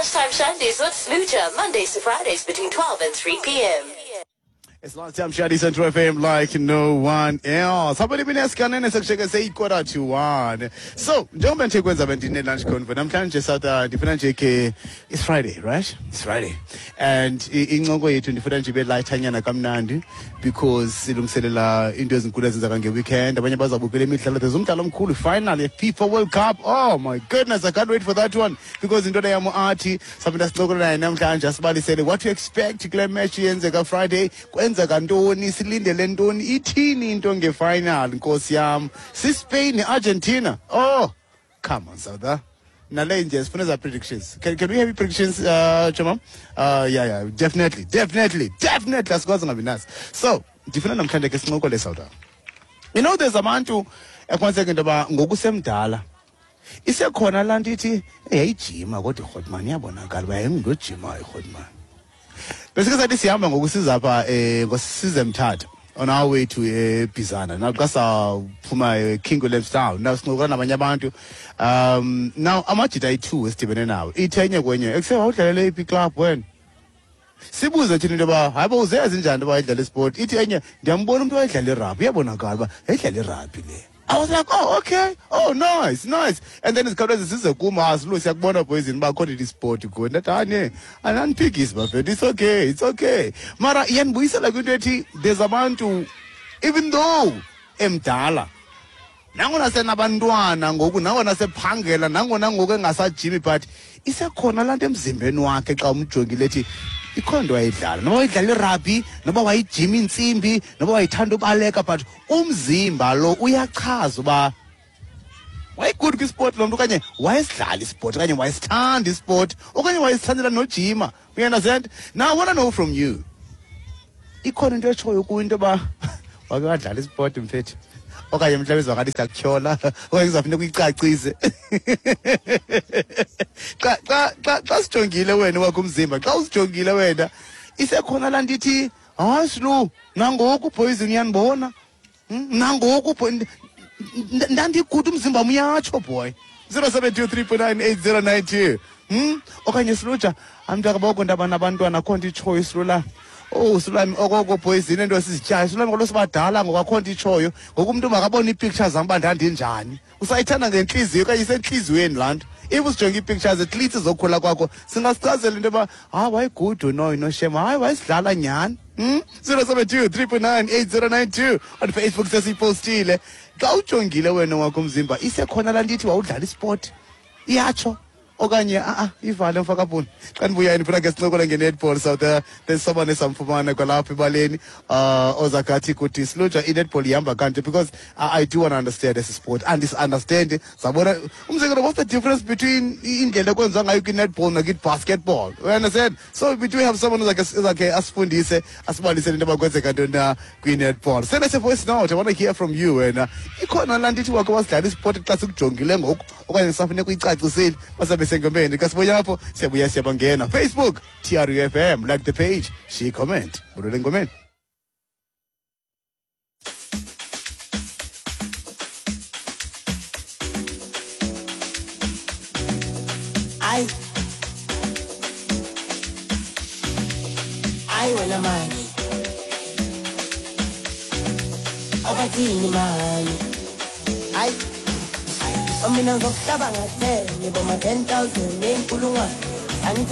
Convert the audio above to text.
Lunchtime Shandies with Sluja, Mondays to Fridays between 12 and 3 p.m. It's Lunchtime Shandies on True FM like no one else. Hapha limini esikanene sekusheke seyi-quarter to one. So, njengoba nje kwenza bendine-lunch convo namhlanje South ndifuna nje ke it's Friday, right? It's Friday. And incoko yethu ndifuna nje ibe lightanyana kamnandi because silungiselela into ezinkulu ezenzeka nge-weekend. Abanye bazabukela imidlalo. There's umdlalo omkhulu final ye-FIFA World Cup. Oh my goodness, I can't wait for that one because into yam athi saphinda sincokola naye namhlanje asibalisele what to expect kule match yenzeka Friday. Kwenzeka ntoni, silindele ntoni, ithini into ngefinal, nkosi yam. SiSpain ne-Argentina. Oh, come on, South. Nale nje sifuna za predictions. Can we have predictions, Chomam? Yeah, definitely, definitely, definitely. Asikwazi ngabi nazo. So, ndifuna namhlanje ke sincokole South. You know, there's abantu ekwenzeka into yoba ngokusemdala isekhona laa nto ithi yayijima kodwa irhotman iyabonakala uba yayingumntu ojimayo irhotman. Besike sathi sihamba ngokusiza apha ngosize Mthatha on our way to eBizana. Now xa saphuma King William's Town, now sincokola nabanye abantu. Now amajita ayi-2 esidibene nawo. Ithe enye kwenye, ekuse wawudlalele iphi club wena? Sibuze thina into yoba hayi bo uzeyazi njani into yoba wayedlala isport. Ithi enye ndiyambona umntu owayedlala irabhi, uyabonakala uba yayidlala irabhi le. I was like, oh, okay. Oh, nice, nice. And then izikhawuleze zize kum, ah, Silu, siyakubona poison uba akho nto isport kuwe. Ndathi, hayi ne, andiphikisi bafethu, it's okay, it's okay. Mara iyandibuyisela kwinto ethi there's abantu, even though emdala, nangona senabantwana ngoku, nangona sephangela, nangona ngoku engasajimi, but isekhona laa nto emzimbeni wakhe xa umjongile ethi ikhona into wayidlala, noba wayidlala irabhi, noba wayijima iintsimbi, noba wayithanda ubaleka, but umzimba lo uyachaza uba wayegood kwisport lo mntu, okanye wayesidlala isport, okanye wayesithanda isport, okanye wayesithandela nojima. You understand? Now I want to know from you, ikhona into etshoyo kuyo into yoba wake wadlala isport mfethu, okanye mhlawumbi izawukanti siyakutyhola, okanye kuzawufuneka uyicacise. Xa sijongile wena wakho umzimba, xa usijongile wena, isekhona laa nto ithi hayi Silu, nangoku poison uyandibona, nangoku ndandigude umzimba uyatsho boy. 0723.98092. Okanye Siluja, amntakaboko ndaba nabantwana akho nto itshoyo Silula. Oh, Silami okoko poison into esizityayo. Silami kaloku sibadala ngoku akho nto itshoyo. Ngoku umntu makabone ii-pictures zam uba ndandinjani. Usayithanda ngentliziyo okanye isentliziyweni laa nto. If usijonge ii-pictures at least zokhula kwakho, singasichazela into yoba hayi wayegudu no noshema, hayi wayesidlala nyhani. 072 3.9 8092 on Facebook sesiyipostile. Xa ujongile wena wakho umzimba, isekhona laa nto ithi wawudlala isport, iyatsho okanye a-a ivale mfakabhuni. Xa ndibuya ndifuna ke sincokole nge-netball South. There's someone esamfumana kwalapha ebaleni ozakathi kuthi Siluja i-netball ihamba kanje, because I do want to understand esi sport. Andis-understand sabona umzekelo, what's the difference between indlela ekwenziwa ngayo kwi-netball nakwi-basketball? You understand? So we do have someone ozakhe asifundise, asibalisele into yoba kwenzeka ntoni na kwi-netball. Send us a voice note. I want to hear from you wena. Ikhona laa nto ithi wakhe wasidlala isport xa sikujongile ngoku, okanye sisafuneka uyicacisile? Basabe sengomeni xa sibuya apho, siyabuya siyabangena. Facebook TRUFM, like the page, share, comment. Bulele engomeni. Ay. Ay wena mani. Abathini mani. Ay. Mina ngizokuhlaba ngathele boma 10,000 nenkulungwane.